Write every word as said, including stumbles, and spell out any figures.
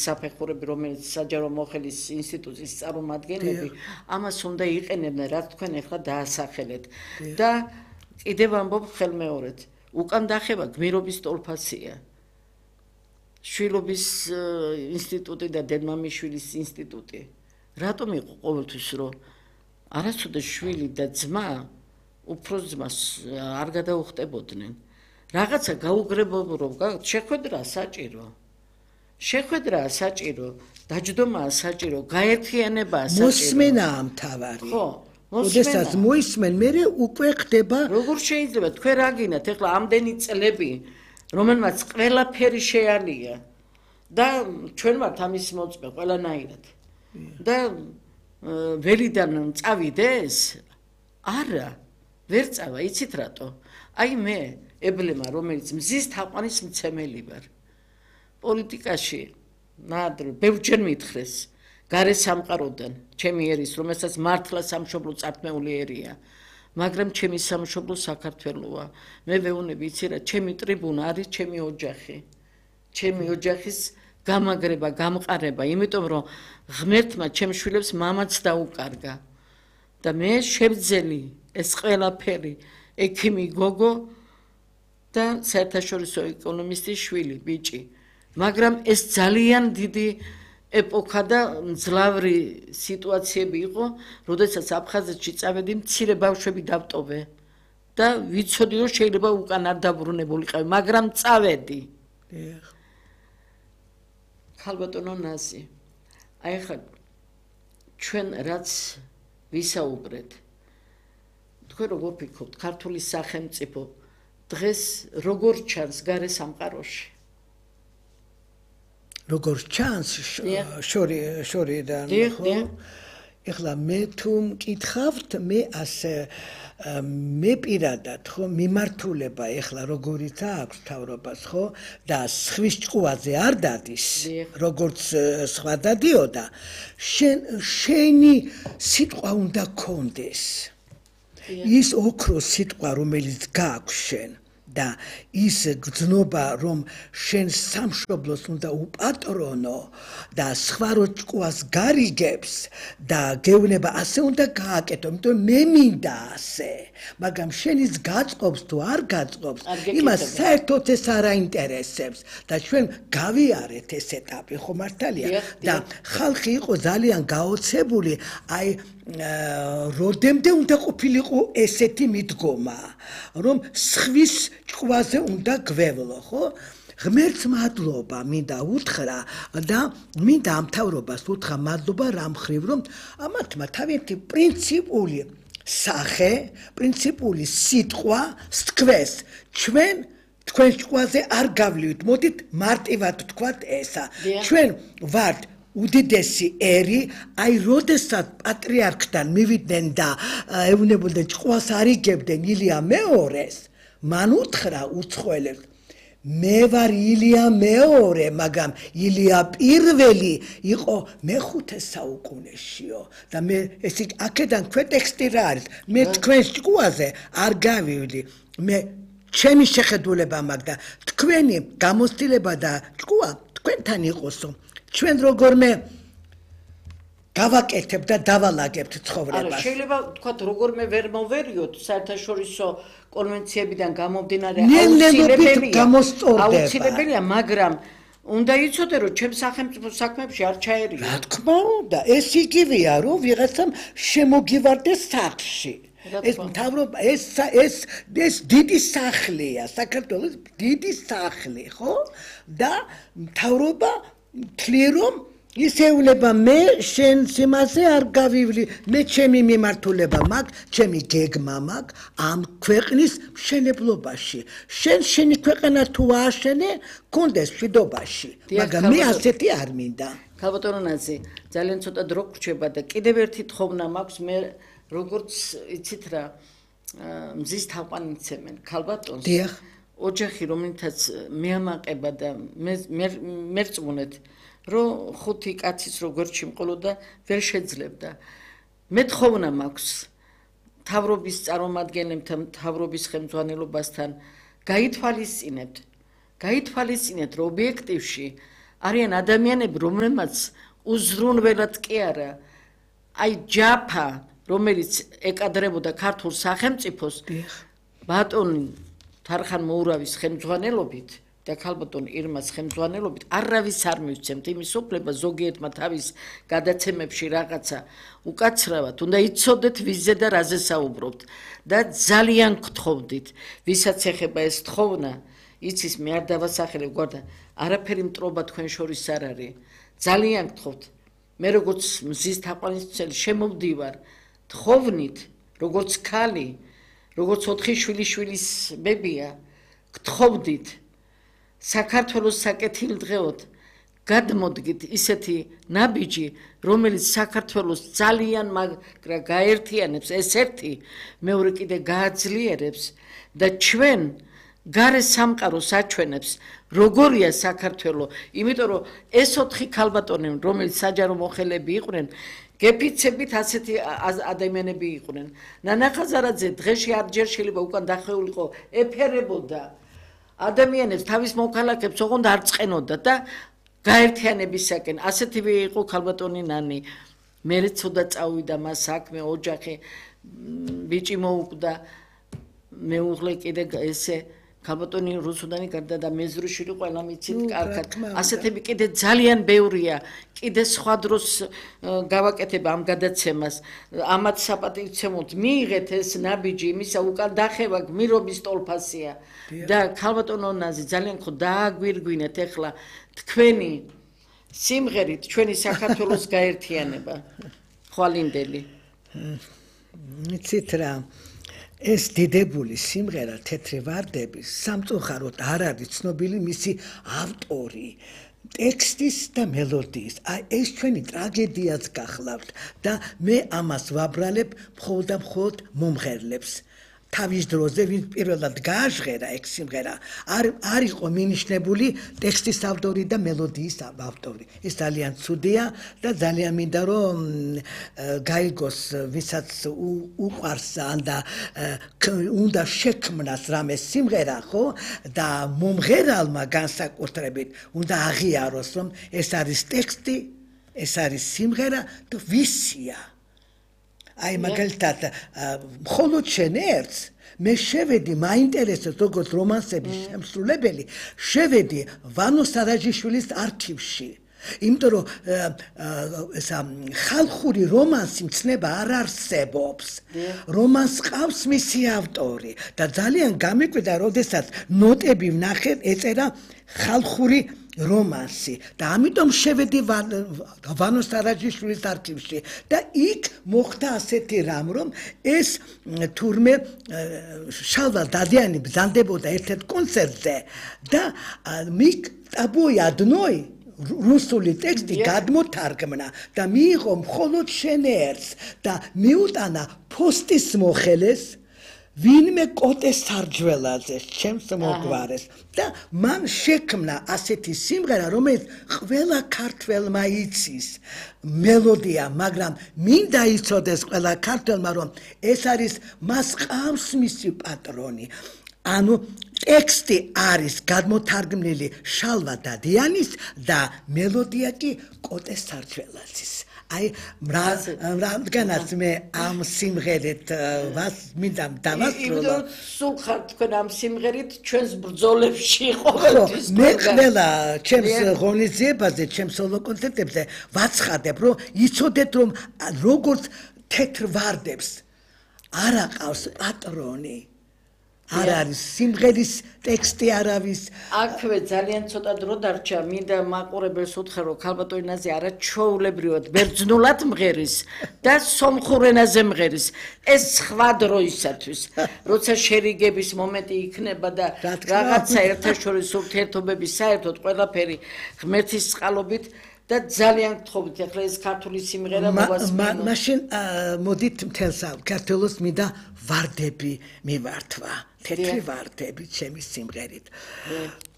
საფეხურები, რომელიც საჯარო მოხელის ინსტიტუციის წარმომადგენლები, ამას უნდა იყენებდნენ, რაც თქვენ ახლა დაასახელეთ. და კიდევ ამბობ ხელმეორედ, უკან დახევა გმირობის ტოლფაცია. შვილობის ინსტიტუტი და დედმამიშვილის ინსტიტუტი. რატომ იყო ყოველთვის, რომ არასოდეს შვილი და ძმა უფროს ძმას არ გადაუხტებოდნენ. რაღაცა გაუგრებობა, შეხვედრა საჭირო. შეხვედრა საჭირო, დაჯდომაა საჭირო, გაერთიანებაა საჭირო. მოსმენაა მთავარი. ხო, მოსმენა. მოისმენ, მე უკვე ხდება. როგორ შეიძლება თქვენ რა გინდათ ახლა ამდენი წლები, რომელმაც ყველაფერი შეალია და ჩვენ ვართ ამის მოწმე ყველანაირად. და ველიდან წავიდეს? არა, ვერ წავა, იცით რატო? აი მე, ებლემა, რომელიც მზის თაყვანის მცემელი ვარ. პოლიტიკაში ნადრ ბევრჯერ მითხრეს გარე სამყაროდან ჩემი ერის რომელსაც მართლა სამშობლო წარქმეული ერია მაგრამ ჩემი სამშობლო საქართველოა მე ვეუბნები იცი რა ჩემი ტრიბუნა არის ჩემი ოჯახი ჩემი ოჯახის გამაგრება გამყარება იმიტომ რომ ღმერთმა ჩემ შვილებს მამაც დაუკარგა და მე შევძელი ეს ყველაფერი ექიმი გოგო და საერთაშორისო ეკონომისტის შვილი ბიჭი მაგრამ ეს ძალიან დიდი ეპოქა და მძლავრი სიტუაციები იყო, როდესაც აფხაზეთში წავედი, მცირე ბავშვები დავტოვე და ვიცოდი რომ შეიძლება უკან არ დაბრუნებულიყავი, მაგრამ წავედი. ხალბატონო ნაზი, აი ხა ჩვენ რაც ვისაუბრეთ, თქვენ როგორ ფიქრობთ, ქართული სახელმწიფო დღეს როგორ ჩანს გარე სამყაროში? როგორ ჩანს შორი შორიდან ხო ეხლა მე თუ მკითხავთ მე ასე მე პირადად ხო მიმართულება ეხლა როგორიც აქვს თავრობას ხო და სხვის ჭკუაზე არ დადის როგორც სხვა დადიოდა შენ შენი სიტყვა უნდა კონდეს ის ოქროს სიტყვა რომელიც გაქვს შენ და ის გრძნობა რომ შენ სამშობლოს უნდა უპატრონო და სხვა რო ჭკუას გარიგებს და გეუბნება ასე უნდა გააკეთო იმიტომ მე მინდა ასე მაგრამ შენის გაწყობს თუ არ გაწყობს იმას საერთოდ ეს არ აინტერესებს და ჩვენ გავიარეთ ეს ეტაპი ხო მართალია და ხალხი იყო ძალიან გაოცებული აი როდემდე უნდა ყოფილიყო ესეთი მიდგომა რომ სხვის ჭკუაზე უნდა გვევლო ხო ღმერთს მადლობა მინდა უთხრა და მინდა ამ თავრობას უთხრა მადლობა რამ ხრივ რომ ამათმა თავიანთი პრინციპული სახე პრინციპული სიტყვა სთქვეს ჩვენ თქვენ ჭკუაზე არ გავლივით მოდით მარტივად ვთქვათ ესა ჩვენ ვართ უდიდესი ერი აი როდესაც პატრიარქთან მივიდნენ და ეუბნებოდნენ ჭკუას არიგებდნენ ილია მეორეს მან უთხრა უცხოელებს მე ვარ ილია მეორე მაგრამ ილია პირველი იყო მეხუთე საუკუნეშიო და მე ეს აქედან ქვეტექსტი რა არის მე თქვენ ჭკუაზე არ გავივლი მე ჩემი შეხედულება მაქვს და თქვენი გამოცდილება და ჭკუა თქვენთან იყოსო ჩვენ როგორმე გავაკეთებ და დავალაგებთ ცხოვრებას. არა, შეიძლება თქვა როგორმე ვერ მოვერიოთ საერთაშორისო კონვენციებიდან გამომდინარე აუცილებელია. აუცილებელია, მაგრამ უნდა იცოდე რომ ჩემ სახელმწიფო საქმეებში არ ჩაერიო. რა თქმა უნდა, ეს იგივეა რომ ვიღაცამ შემოგივარდეს სახლში. ეს მთავრობა ეს ეს ეს დიდი სახლია, საქართველოს დიდი სახლი, ხო? და მთავრობა თლი რომ ისეულება მე შენ სიმაზე არ გავივლი მე ჩემი მიმართულება მაქვს ჩემი გეგმა მაქვს ამ ქვეყნის მშენებლობაში შენ შენი ქვეყანა თუ ააშენე კონდეს მშვიდობაში მაგრამ მე ასეთი არ მინდა ხალბატონო ნაზი ძალიან ცოტა დრო გრჩება და კიდევ ერთი თხოვნა მაქვს მე როგორც იცით რა მზის თაყვანი მცემენ ხალბატონს დიახ ოჯახი რომელთაც მეამაყება და მე მერწმუნეთ რომ ხუთი კაცის როგორ ჩიმყოლოდა ვერ შეძლებდა მე თხოვნა მაქვს თავრობის წარმომადგენლებთან თავრობის ხელმძღვანელობასთან გაითვალისწინებთ გაითვალისწინეთ რომ ობიექტივში არიან ადამიანები, რომლებმაც უზრუნველად კი არა, აი ჯაფა, რომელიც ეკადრებოდა ქართულ სახელმწიფოს, ბატონი თარხან მოურავის ხელმძღვანელობით და ქალბატონ ირმას ხელმძღვანელობით არავის არ მივცემთ იმის უფლება ზოგიერთმა თავის გადაცემებში რაღაცა უკაცრავად, უნდა იცოდეთ ვიზზე და რაზე საუბრობთ და ძალიან გთხოვდით, ვისაც ეხება ეს თხოვნა, იცის მე არ დავასახელებ გვარდა, არაფერი მტრობა თქვენ შორის არ არის. ძალიან გთხოვთ. მე როგორც მზის თაყვანისმცემელი შემოვდივარ თხოვნით, როგორც ქალი, როგორც ოთხი შვილიშვილის ბებია, გთხოვდით საქართველოს საკეთილდღეოდ გადმოდგით ისეთი ნაბიჯი, რომელიც საქართველოს ძალიან მაგრა გაერთიანებს, ეს ერთი, მეორე კიდე გააძლიერებს და ჩვენ გარე სამყაროს აჩვენებს, როგორია საქართველო, იმიტომ რომ ეს ოთხი ქალბატონი, რომელიც საჯარო მოხელეები იყვნენ, გეფიცებით ასეთი ადამიანები იყვნენ. ნანა ხაზარაძე დღეში არჯერ შეიძლება უკან დახეულიყო, ეფერებოდა ადამიანებს, თავის მოქალაქეებს ოღონდ არ წყენოდა და გაერთიანებისაკენ. ასეთივე იყო ქალბატონი ნანი. მერე ცოტა წავიდა მას საქმე, ოჯახი, ბიჭი მოუკვდა, მეუღლე კიდე ესე ქალბატონი რუსუდანი გარდა და მეზრუშვილი ყველა მიცით კარგად. ასეთები კიდე ძალიან ბევრია. კიდე სხვა დროს გავაკეთებ ამ გადაცემას. ამათ საპატივცემლოდ მიიღეთ ეს ნაბიჯი, იმისა უკან დახევა გმირობის ტოლფასია და ქალბატონო ნაზი ძალიან ხო დააგვირგვინეთ ეხლა თქვენი სიმღერით ჩვენი საქართველოს გაერთიანება. ხვალინდელი. იცით რა ეს დიდებული სიმღერა თეთრი ვარდები სამწუხაროდ არ არის ცნობილი მისი ავტორი ტექსტის და მელოდიის. აი ეს ჩვენი ტრაგედიაც გახლავთ და მე ამას ვაბრალებ მხოლოდ და მხოლოდ მომღერლებს. თავის დროზე ვინ პირველად გააჟღერა ეგ სიმღერა არ არ იყო მინიშნებული ტექსტის ავტორი და მელოდიის ავტორი. ეს ძალიან ცუდია და ძალიან მინდა რომ გაიგოს ვისაც უყვარს და უნდა შექმნას რამე სიმღერა ხო და მომღერალმა განსაკუთრებით უნდა აღიაროს რომ ეს არის ტექსტი, ეს არის სიმღერა და ვისია. აი მაგალითად მხოლოდ შენ ერთს მე შევედი მაინტერესებს როგორც რომანსების შემსრულებელი შევედი ვანო სარაჯიშვილის არქივში იმიტომ რომ ესა ხალხური რომანსი მცნება არ არსებობს რომანს ყავს მისი ავტორი და ძალიან გამიკვირდა როდესაც ნოტები ვნახე ეწერა ხალხური რომანსი და ამიტომ შევედი ვანო სარაჯიშვილის არქივში და იქ მოხდა ასეთი რამ რომ ეს თურმე შალვა დადიანი ბრძანდებოდა ერთ-ერთ კონცერტზე და მიკ ტაბოი ადნოი რუსული ტექსტი გადმოთარგმნა და მიიღო მხოლოდ შენ ერთს და მიუტანა ფოსტის მოხელეს ვინმე კოტე სარჯველაძე ჩემს მოგვარეს და მან შექმნა ასეთი სიმღერა რომელიც ყველა ქართველმა იცის მელოდია მაგრამ მინდა იცოდეს ყველა ქართველმა რომ ეს არის მას ყავს მისი პატრონი ანუ ტექსტი არის გადმოთარგმნილი შალვა დადიანის და მელოდია კი კოტე სარჯველაძის აი რამდგანაც მე ამ სიმღერით ვას მინდა დავასრულო სულ ხარ თქვენ ამ სიმღერით ჩვენს ბრძოლებში ყოველთვის მე ყველა ჩემს ღონისძიებაზე ჩემს სოლო კონცერტებზე ვაცხადებ რომ იცოდეთ რომ როგორც თეთრ ვარდებს არ აყავს პატრონი არ არის სიმღერის ტექსტი არავის აქვე ძალიან ცოტა დრო დარჩა მინდა მაყურებელს უთხრა რომ ქალბატონი ნაზი არა ჩვეულებრივად ბერძნულად მღერის და სომხურ ენაზე მღერის ეს სხვა დროისათვის როცა შერიგების მომენტი იქნება და რაღაცა ერთაშორის ურთიერთობების საერთოდ ყველაფერი ღმერთის წყალობით და ძალიან გთხოვთ ახლა ეს ქართული სიმღერა მოვასმინო მაშინ მოდით მთელს ქართულს მინდა ვარდები მივართვა თეთრი ვარდები ჩემი სიმღერით